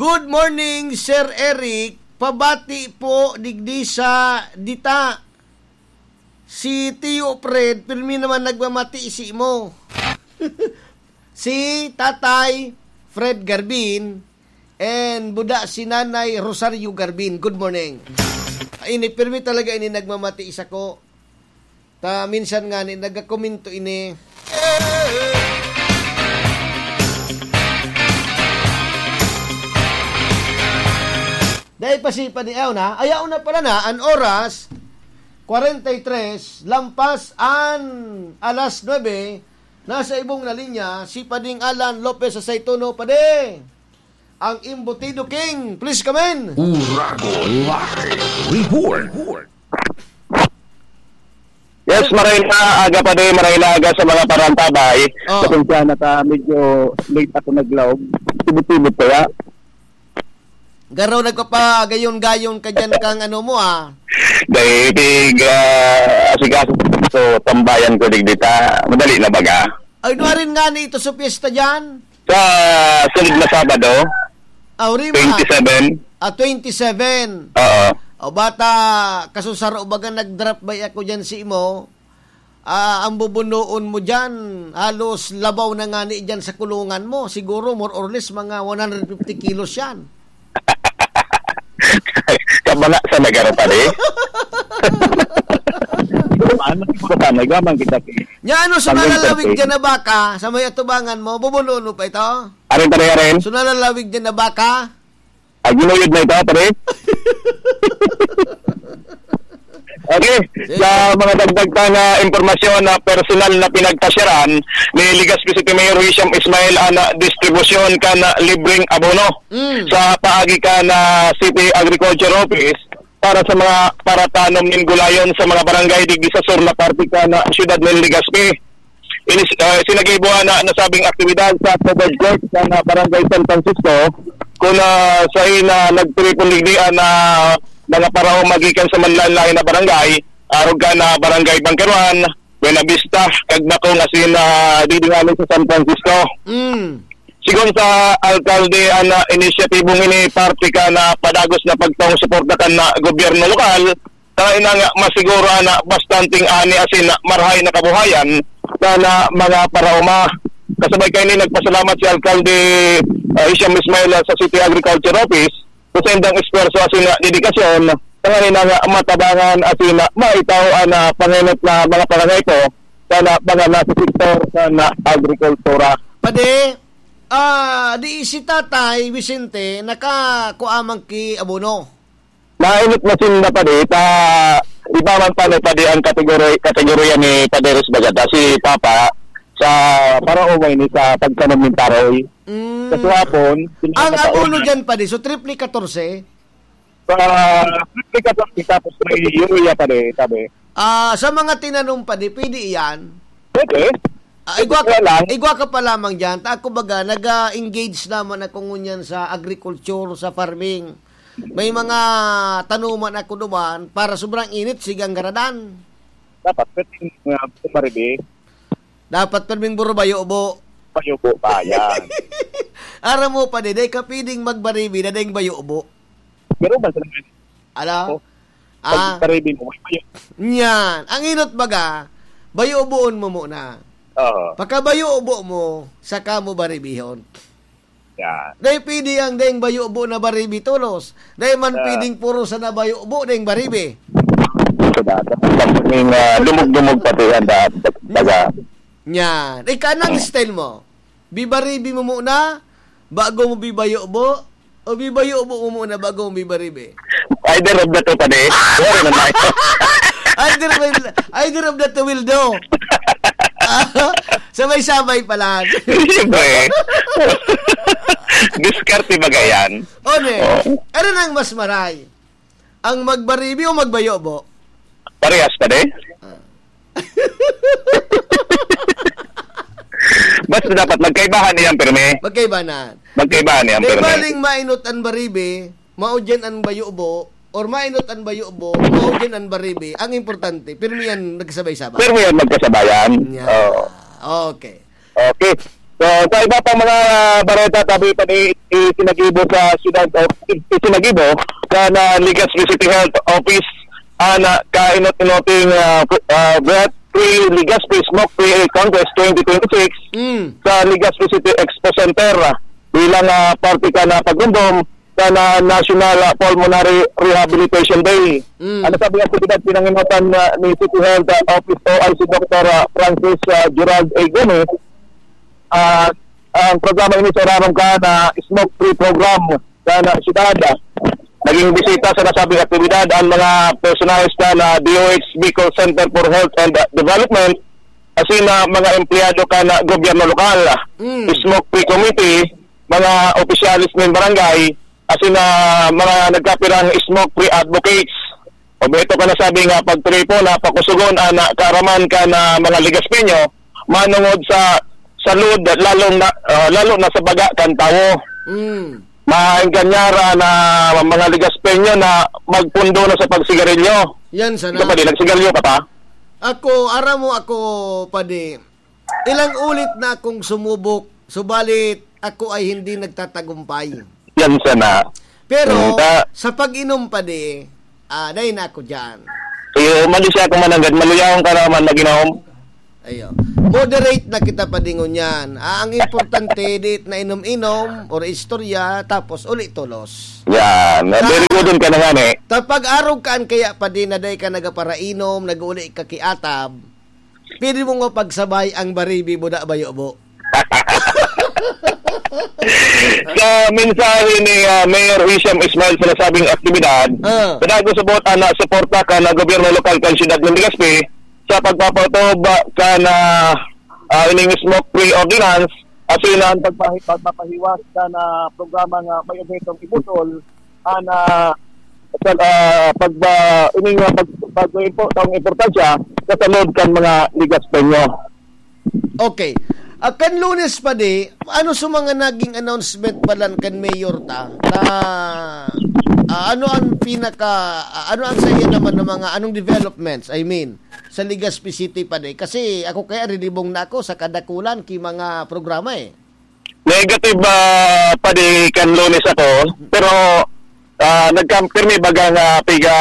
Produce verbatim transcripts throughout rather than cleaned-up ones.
Good morning, Sir Eric. Pabati po digdi sa dita. Si Tio Fred, pirmi naman nagmamati simo. Si Tatay Fred Garbin and buda si Nanay Rosario Garbin. Good morning. Ini, pirmi talaga ini nagmamati sako. Ta minsan ngani nagakomento ini. Dai pa si padi-, ayaw na. Ayaw na pala na. An oras, kwarenta y tres, lampas an alas nuebe. Nasa ibong na linya, si Pading Alan Lopez sa Saituno. Padi, ang Embutido King. Please come in. Urago Live Report. Yes, maray na aga pa din, maray na aga sa mga parantabay. Oh. Pasensya na ta, medyo late ako naglaog. Tibot-tibot kaya. Garo, nagpapagayon-gayon ka dyan kang ano mo, ah. Dahil tig, ah, asikaso, so, tambayan ko digdita. Madali na baga. Ay, nuarin nga ni ito sa piyesta dyan? Sa sunod na Sabado, Ah, Rima. twenty-seven. Ah, twenty-seven. Oo. O, bata, kasusaro, baga nag-drop by ako dyan si imo. Ah, ang bubunoon mo dyan, halos labaw na nga ni dyan sa kulungan mo. Siguro, more or less, mga one hundred fifty kilos yan. Kabanga sa nagaro pa, di? Ano, siguro pa, nagmamang kita, eh. Nya, ano, so Pangyon nalalawig dyan na baka, sa may atubangan mo, bubunoon mo pa ito? Arin, pare, arin. So nalalawig dyan na baka? Ay, ginuyod na ito, pare. Okay, Sige. sa mga dagdag pa na impormasyon na personal na pinagpasyaran ni Legazpi City Mayor Hisham Ismail ang distribusyon kan libreng abono Mm. sa paagi kan City Agriculture Office para sa mga paratanom nin gulayon sa mga barangay digdi sa sur na parte kan siyudad nin Legazpi. Inis-, ah, sinagibo na nasabing aktibidad sa covered court sa na Barangay San Francisco, kun, ah, sa ina nagtiripon digdi ang, ah, mga paraoma gikan sa manlaen-laen na barangay, arog kan, ah, Barangay Bangkaruan, Buena Vista, kag Nakong asin, ah, digdi ngani sa San Francisco. Mm. Sigon sa alkalde, ang, ah, inisyatibong ini parte kan, ah, padagos na pagtaong suporta kan, ah, gobyerno lokal, Tayo na nga masiguro na bastanteng ani asin na marahay na kabuhayan na, na mga paraoma. Kasabay kaini, nagpasalamat si Alkalde, ah, Hisham Ismail sa City Agriculture Office sa saindang esfuerso asin na dedikasyon, tanganing na nga matabangan asin na maitaw ang, ah, pangenot na mga pangangaipo sa na, mga nasa sektor sa na agrikultura. Padi, ah, di si Tatay Vicente nakakuha man ki abono? Nainot na sinda, padi, ta iba man pa ni padi ang kategori-, kategorya ni Padi Rizbagata, si Papa, sa paraoma ini sa pagtanom nin taroy. Mm. Sa tuhapon, Ang pinapataon abono na. Dyan, padi, so triple katorse? Sa triple katorse, tapos may urea, padi, sabi. Ah, sa mga tinanom, padi, pwede iyan? Pwede. Ah, igwa ka, Kaya lang. Igwa ka pa lamang dyan. Ta, kumbaga, nag-a-engage naman ako ngunyan sa agriculture, sa farming. May mga tanuman ako duman para sobrang init, sigang garadan. Dapat, pwedeng, uh, pumaribi. Dapat pwedeng buro bayo ubo. Bayo ubo pa, yan. Aram mo pa, di, di ka pwedeng magbaribi na ding bayo ubo. Pero ba sa Ala? Oh, Ah. Pag paribi mo, may bayo. Nyan. Ang inot baga, bayo uboon mo muna. Oo. Pagkabayo ubo mo, saka mo baribihon. Yan. Dahil pwede ang dahil bayo ubo na baribi tolos. Dahil man Ah. pwedeng puro sa nabayo ubo, dahil baribi. Sa data. Pag, ah, dumog-dumog pati yan, da-, baga. Yan. Ika, anong style mo? Bibaribi mo muna, bago mo bibayo-bo, o bibayo-bo mo muna, bago mo bibaribi? Either of the two, padi. Wala na tayo. Either will, either of the two will do. Sabay-sabay pala. Siyempre. Diskarte baga yan. O, ne. Oo. Ano nang mas maray? Ang magbaribi o magbayo-bo? Parehas, padi. Ah. Basta dapat magkaibahan niyan, pirmi. Magkaibahan. Magkaibahan niyan, Di pirmi. baling mainot an baribi, mao diyan an bayo-bo, or mainot an bayo-bo, mao diyan an baribi. Ang importante, pirmi yan nagsabay-sabay. Pirmi yan magkasabayan. Yan. Oo. Okay. Okay. So, sa iba pang mga bareta, tabi pa ni itinagibo sa siyudad o itinagibo sa na Legazpi City Health Office, ah, na kainot-inoting, ah, fu- ah, Breath Free Legazpi Smoke Free Congress twenty twenty-six Mm. sa Legazpi City Expo Center, ah, bilang, ah, parte ka na pagrumdom sa na National, ah, Pulmonary Rehabilitation Day. Mm. Ano sabi ang aktibidad pinanginotan na ni City Health, ah, Office O I C Doctor, ah, Francis, ah, Gerald A. Gomez? Ah, ang programa ini sa Orarom Ka na Smoke Free Program sa na siyudad. Naging bisita sa nasabing aktibidad ang mga personahes na, na D O H Bicol Center for Health and Development, asin na mga empleyado ka na gobyerno lokal, Mm. Smoke Free Committee, mga opisyalis ng barangay, asin na mga nagkapirang Smoke Free Advocates. O ito ka nasabi nga pagtripo na pakusugon ang kaaraman ka na mga Legaspeño manungod sa salud, lalong na, ah, lalo na sa baga kan tawo. Mm. Maenganyara na mga Legaspeño na magpundo na sa pagsigarilyo. Yan sana. Ikaw pa din, nagsigarilyo ka pa? Ako, aram mo ako, padi, ilang ulit na akong sumubok, subalit ako ay hindi nagtatagumpay. Yan sana. Pero Mm, ta- sa pag-inom, padi, ah, dai na ako dyan. Iyo, umalis siya kung mananggad. Maluyahon ka naman mag-inom. Ayo. Moderate na kita, padi, ngunyan. Ah, ang importante, di na inom-inom or istorya, tapos uli tolos. Yan. Ah, Very good ka na nga, eh. Kapag arog kaan kaya, padi, na dai ka nagaparainom, nag-uli ka kiatab, pwede mong mapagsabay ang baribi mo na bayo mo. Sa mensahe ni, ah, Mayor Hisham Ismail sa nasabing aktibidad, Ah. pinag-usabot ang nasuporta ka na gobyerno lokal kan siyudad ng Legazpi sa pagpapatupad ka na, ah, ining smoke-free ordinance, asin ang pagpahi-, pagpapahiwas ka na programa nga may obhetong ibutol, ah, na sa, ah, pagba-, ining, ah, pag-, pag-, impo-, ang importansya sa salud kan mga Legaspeño. Okay. Ah, kan Lunes, padi, ano sa mga naging announcement pa lang kan Mayor ta? Ta, ah, ano ang pinaka, ah, ano ang sa iya naman ng mga, anong developments? I mean, sa Legazpi City, padi. Kasi ako kaya rinibong na ako sa kadakulan ki mga programa, eh. Negative, ah, padi kan Lunes ako, pero, ah, nagkampirmi baga nga piga,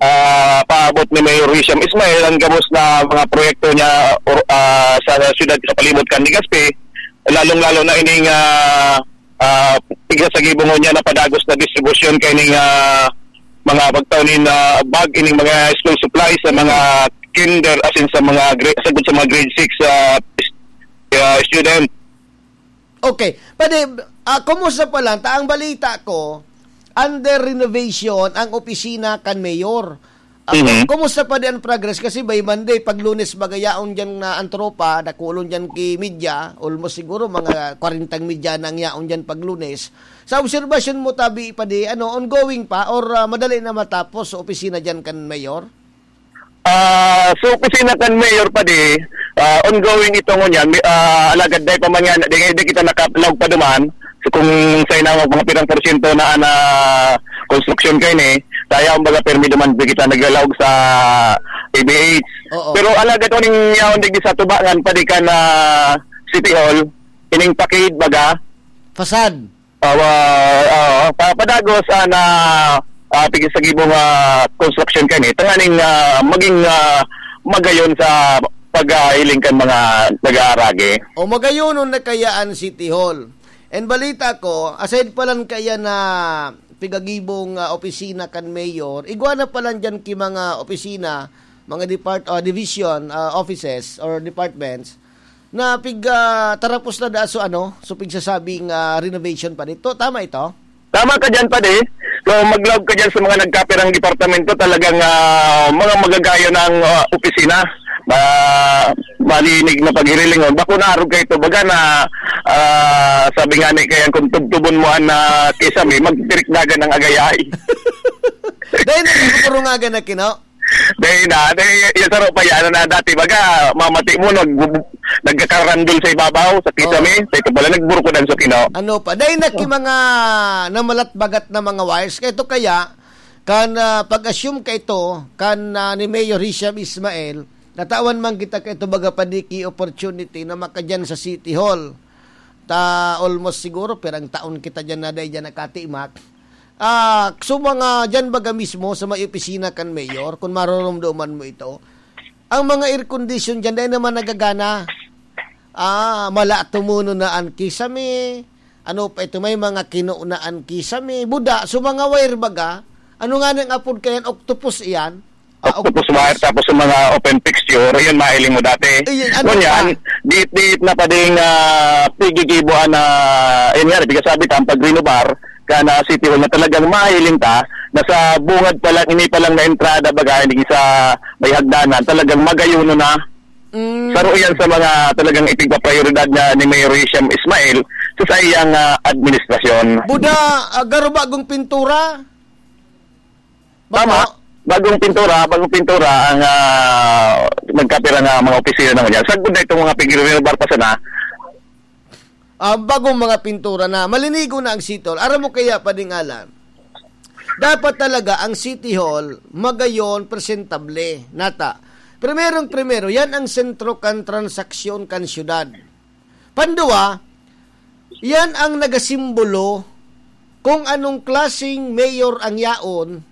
ah, paabot ni Mayor Hisham Ismail ang gabos na mga proyekto niya, or, ah, sa siyudad sa palibot kan Legazpi, lalong-lalo na ining, ah, ah, piga sa gibong niya na padagos na distribusyon kay ning, ah, mga pagtaw nin, ah, bag, ining mga school supplies sa mga kinder, asin sa mga gra-, sagkod sa mga grade six, ah, ah, student. Okay. Pwede, ah, kumusta pa lang? Ta, ang balita ko, under renovation ang opisina kan mayor. Ah, Mhm. kumusta pa di ang progress? Kasi by Monday, pag Lunes, baga yaon dyan na ang tropa, dakulon dyan ki media, almost siguro mga kwarentang media na ang yaon dyan pag Lunes. Sa obserbasyon mo, tabi pa di, ano, ongoing pa or, ah, madali na matapos sa opisina dyan kan mayor? Ah, sa opisina kan mayor pa di, ah, ongoing ito ngunyan. May, ah, alagad dai pa man yan, di, di kita nakalaog pa duman. So, kung sa inawag mga pirang porsyento na, na konstruksyon kayo ni, kaya ang baga permi duman di kita naglalaog sa A B H. Oo. Pero alagad uning yaon digdi sa tubangan pa di kan City Hall, ining pakid baga. Facade. Awa, oo, pa-, padagos, ah, na, ah, tigil sa gibong, ah, construction kani, tanganing, ah, maging, ah, magayon sa paghiling kan mga nag-aaragi. O magayonon na kaya an City Hall. And balita ko, aside pa lang kaya na pigagibong, ah, opisina kan mayor, igwa na pa lang dyan ki mga opisina, mga depart-, ah, division, ah, offices or departments, na pig, ah, tarapos na da so ano, so pigsasabing, ah, renovation pa dito. Tama ito? Tama ka dyan, padi. So, maglaog ka dyan sa mga nagkapirang departamento, talagang, ah, mga magagayon na ang, ah, opisina. Ma-, malinig na paghirilingon. Bako na arog ka ito. Baga na, ah, sabi nga ni, kaya kung tubtubon mo an, ah, kisame, magtirikdagan ng agayay. Dahil nagpupurungagan na kino? Dai na, dai, yung saro pa yan, na dati baga, mamati mo, nag-, nagkakarandol sa ibabaw, sa kisame, Oo. sa ito pala, nagburukodan sa kino. Ano pa? Dai na ki mga namalatbagat na mga wires. Kaya ito kaya, kan, ah, pag-assume ka ito, kan, ah, ni Mayor Hisham Ismail, Natawan man kita kaito baga pa di ki opportunity na makadyan sa City Hall. Ta almost siguro pirang taon kita dyan na dai dyan nakatimak. Ah, so mga dyan baga mismo sa may opisina kan mayor, kung maroromdoman mo ito, ang mga air condition dyan dai naman nagagana. Ah, mala tumuno na an kisame. Ano pa ito? May mga kino na an kisame. Buda, so mga wire baga. Ano nga nang apod kayan? Octopus iyan? Ah, octopus wire, tapos yung mga open fixture, yun, mahiling mo dati. Ayun, ano Ngunyan, pa? Di, di na pa ding, ah, pigigibuan na, yun nga, di ka sabi, ta, ang pag-renovar, ka na City Hall na talagang mahiling ta, na sa bungad pa lang, ini pa lang na entrada, baga, hindi sa may hagdanan, talagang magayuno na. Mm. Saro yan sa mga talagang ipigpaprioridad na ni Mayor Hisham Ismail sa saiyang, ah, administrasyon. Buda, ah, garo bagong pintura? Tama. Bago? Bagong pintura, bagong pintura ang, ah, nagkapira nga mga opisina na ngunyan. Sagkod na itong mga pigre-renovar pa sana. Ah, bagong mga pintura na. Malinigo na ang City Hall. Aram mo kaya, Pading Alan? Dapat talaga ang City Hall magayon, presentable. Nata. Primerong primero, yan ang sentro kan transaksyon kan syudad. Pandua, yan ang nagasimbolo kung anong klaseng mayor ang yaon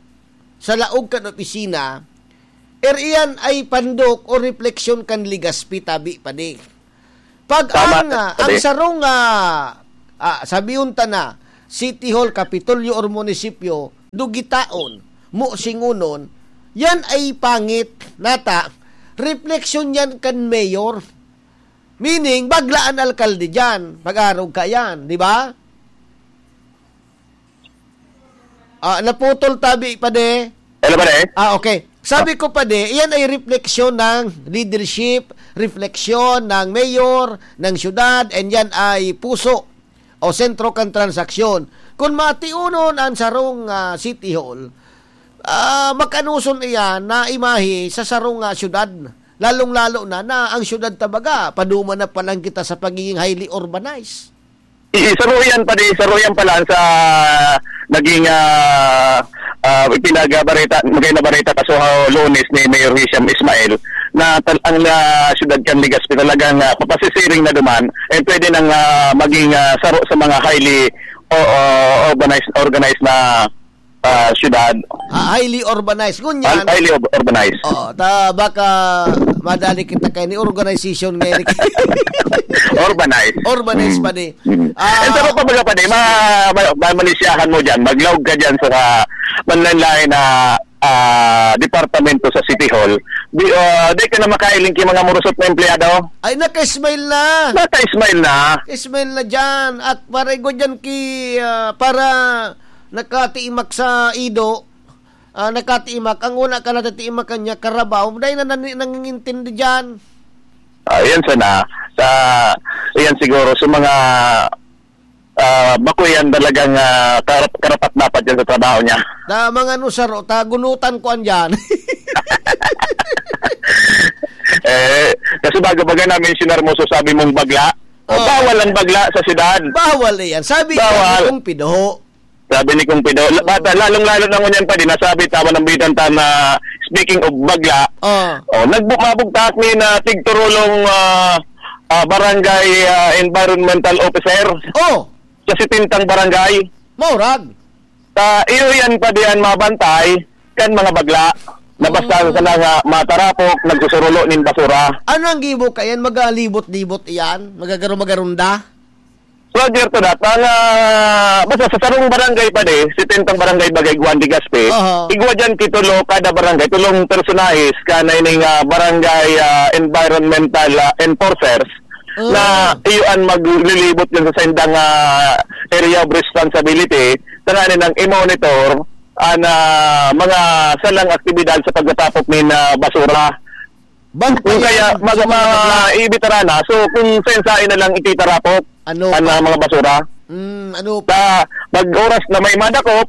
sa laog kan opisina, er iyan ay pandok o refleksyon kan Legazpi, tabi pa di. Pag Tama, ang, ah, ang tabi. sarong, ah, ah, sabihon ta na, City Hall, Kapitolyo or Munisipyo, dugitaon, musingunon, yan ay pangit, nata, refleksyon yan kan mayor. Meaning, bagla an alkalde diyan. Pag-arog ka yan, di ba? Ah, naputol tabi, pade. Hello, pade. Ah, okay. Sabi ko, pade, iyan ay refleksyon ng leadership, refleksyon ng mayor, ng syudad, and yan ay puso o sentro kan transaksyon. Kung matiunon ang sarong, ah, City Hall, ah, makanuson iyan na imahe sa sarong, ah, syudad. Lalong-lalo na, na ang syudad ta baga, paduma na pa lang kita sa pagiging highly urbanized. I-, saro yan, pade, saro yan pala sa naging, ah, ah, ipinagbarita, magay na barita kaso ha Lunes ni Mayor Hisham Ismail na tal-, ang, ah, syudad kan Legazpi talagang, ah, papasisiring na duman, and pwede nang, ah, maging, ah, saro sa mga highly o, o, urbanized, organized na ah, syudad. Ah, highly urbanized. Ngunyan, Hal-, highly ur-, urbanized. Oo, ta, baka madali kita kay ni organization ngayon. Urbanized. Urbanized Mm. pa di. Mm. Ah, Eh, pero kumbaga pa di, ma-, ma-, ma-, manisyahan mo dyan, maglaog ka dyan sa manlain-lain na, ah, departamento sa City Hall. Di, ah, di ka na makailing ki mga murusot na empleyado. Ay, naka-smile na. Naka-smile na. Smile na dyan. At para igwa dyan ki, ah, para nakatiimak sa ido, ah, nakatiimak, ang una ka natatiimakan niya, karabaw, dahil na nani-, nangingintindi dyan. Ah, yan sana. Sa, yan siguro, sa mga, ah, bako yan talagang, ah, karap-, karapat-dapat yan sa trabaho niya. Na mga nusaro, tagunutan ko andyan. Eh, kasi bago baga na-mentionar mo, so sabi mong bagla. O, Oh. bawal ang bagla sa syudad. Bawal yan. Sabi Bawal. nga ni Kong Pido, Sabi ni Kong Pido, la-, Oo. bata, lalong-lalo na ngunyan pa din, nasabi, tama ng bitan ta na, speaking of bagla, Ah. oh, nagbu-, mabugtak ni na tigturulong, ah, ah, barangay, ah, environmental officer Oh, sa sitintang barangay. Maurag. Ta, iyo yan pa diyan mabantay kan mga bagla na basta Mm. sana nga matarapok, nagsusurulo nin basura. Ano ang gibo kayan? Magalibot-libot iyan? Magagaro-magarunda? So, Alberto, dat, ang, ah, basta sa sarong barangay pa di, sitentang barangay bagay Juan de Gaspi, Aha. igwa dyan kitulo kada barangay, tulong personahes, ka na ining, ah, barangay, ah, environmental, ah, enforcers, Ah. na iyo an maglilibot dyan sa saindang, ah, area of responsibility, tanganin ang i-monitor, an, ah, mga salang aktibidad sa pagtatapok nin, ah, basura. Bang Kung kaya kaya mag-, sa mga ma-, bakla? Ibitarana, so kung sensain na lang ititarapok Ano ang, pa? ah, mga basura. Mm, ano pa? Sa mag-oras na may madakop,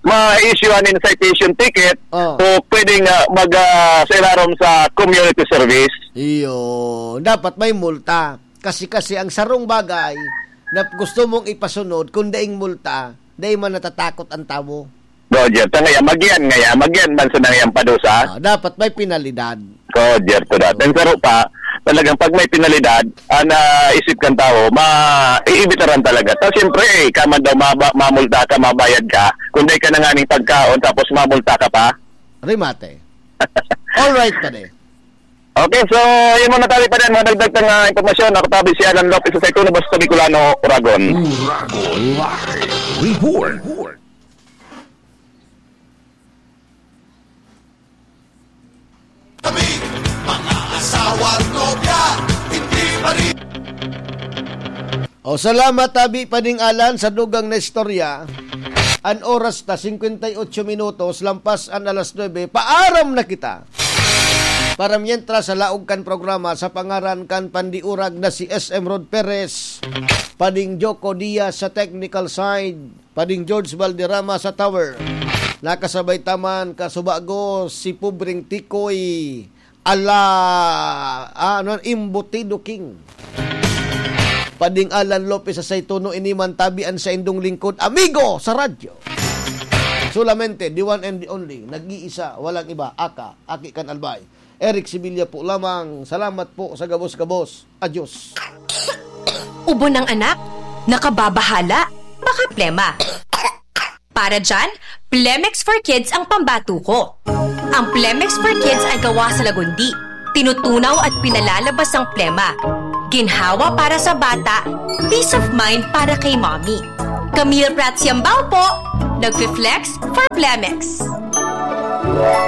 ma-issue an citation ticket, Oh. o pwedeng, ah, mag, ah, sa ilarom sa community service. Iyo, dapat may multa. Kasi, kasi ang sarong bagay na gusto mong ipasunod, kung daing multa, dai man natatakot ang tawo. Roger, sa ngayon, magyan ngayon, magyan man sa nangyang padusa. Ah, dapat may penalidad. Roger, to that. Ang saro pa, talagang pag may penalidad, ah, naisip kang tao, ma-, iibitaran talaga. Tapos siyempre, eh, kaman daw maba-, mamulta ka, mabayad ka. Kung di ka na nga ning pagkaon, tapos mamulta ka pa. Remate. All right, pare. Okay, so, yun muna tayo pa din. Madagdag na nga impormasyon. Ako tabi si Alan Lopez sa Saituno, Basta Bicolano, Oragon. Oragon Live Report. Kami, mga asawa at nobya, hindi pa rin. O, salamat, tabi pa ning Alan, sa dugang na istorya. An oras ta, singkwenta y otso minutos, lampas an alas nuebe, paaram na kita. Para mientras sa laog kan programa, sa pangaran kan pandiurag na si S M Rod Perez, pading Joko Diaz sa technical side, pading George Valderrama sa tower. Nakasabay taman, kasubago, si Pobreng Tikoy, ala, ah, ano, Embutido King. Pading Alan Lopez sa Saituno, ini man tabi an saindong lingkod, amigo sa radyo. Solamente, the one and the only, nag-iisa, walang iba, aka, aki kan Albay. Eric Sevilla po lamang. Salamat po sa gabos-gabos. Adios. Ubo ng anak? Nakababahala? Baka plema. Para dyan, Plemex for Kids ang pambato ko. Ang Plemex for Kids ay gawa sa lagundi. Tinutunaw at pinalalabas ang plema. Ginhawa para sa bata, peace of mind para kay mommy. Camille Prats Yambao po, nagfi-flex for Plemex.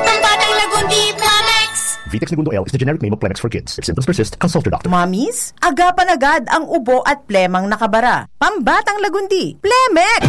Pambatang Lagundi, Plemex! Vitex Negundo L is the generic name of Plemex for kids. If symptoms persist, consult your doctor. Mommies, agapan agad ang ubo at plemang nakabara. Pambatang Lagundi, Plemex!